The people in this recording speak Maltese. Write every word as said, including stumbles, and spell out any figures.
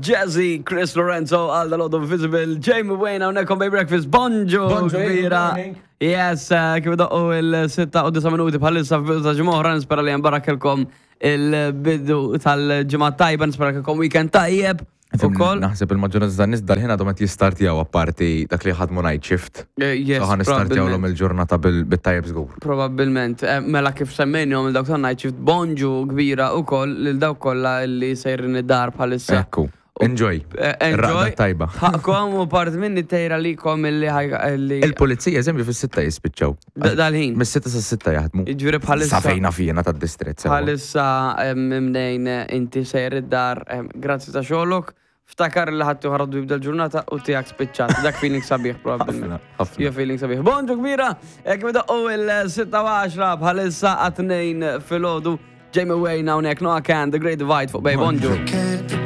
Jazzy, Chris Lorenzo, għal dal Visible, Jamie Wayne, hawnhekk on Bay Breakfast, bonġu, Bonġu, good kbira. morning. Yes, eh, kif doqqu il-sitta u disa' minuti bħalissa f'bidu ta' ġimgħa oħra, nispera li nbarakilkom il-bidu tal-ġimgħa tajba, nispera kelkom weekend tajjeb. Ukoll. Naħseb il-maġġoranza tan-nies dal-ħin għadhom qed jistartjaw, apparti dak li ħadmu night shift. Eh, Yes, So ħa nistartjaw l probabbilment. il-ġurnata bil- bit-tajjeb żgur. Probabbilment, Eh, mela kif semmejnihom il-dawk ta' night shift, bonġu kbira ukoll lil dawk kollha li sejrin id-dar bħalissa. Ekku. Enjoy. Eh, Enjoy. Raqda tajba. Ħaqkom u part minni tejra likom illi ħaj- illi Il-pulizija, eżempju, fis-sitta jispiċċaw. Da- dal-ħin. Mis-sitta sa sitta jaħdmu. Jiġifieri bħalissa. Sa fejna fina tad-distret. sewwa. Bħalissa em, mnejn eh, inti sejr id-dar, em, grazzi ta' xogħlok, ftakar li ħadd ieħor jibda l-ġurnata u tiegħek spiċċat. Dak feeling sabiħ probabbilment. Ħafna, ħafna. Jo feeling sabiħ. Bonġu kbira, hekk bidoqqu il-sitta u għaxra bħalissa għat-tnejn filgħodu. Jamie Wayne hawnhekk, Noah Can, The Great Divide fuq Bay. Bonġu. Can't